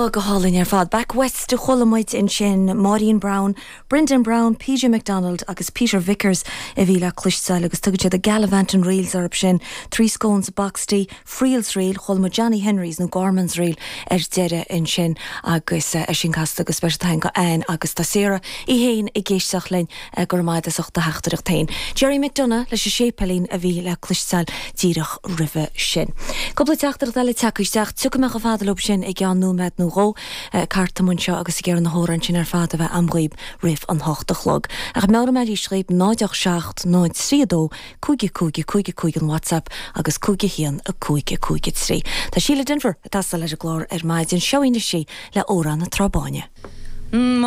Ó, go hálainn ar fad. Back West a chuala muid ansin, Máirín Browne, Brendan Browne, PJ McDonald agus Peter Vickers a bhí le cloisteáil agus tugann siad The Gallivanting Reels orthu sin, Three Scones, a Boxty, Friel's Reel, chuala muid Johnny Henry's nó Gorman's Reel ar deireadh ansin agus é sin casta go speisialta againn do Anne agus tá Sarah í féin ag éisteacht linn, go raibh maith agat as ucht do theachtaireacht féin. Gerry McDonagh leis an Séipéilín a bhí le cloisteáil díreach roimhe sin. Cúpla teachtaireacht eile tagtha isteach, tiocfaidh mé chomh fada leo sin i gceann nóiméad nó dhó. Ceart dom anseo agus ag iarraidh na hamhráin sin ar fad a bheith a'm dhaoib roimh an hocht a chlog. Ach meabhróidh mé arís dhaoib, 0 8 7 0 3 2 5 5 5 5 an WhatsApp agus 5 1 5 5 3. Tá Síle Denvir ag teastáil ar an gclár ar maidin. Seo í anois í le Amhrán na Trá Báine.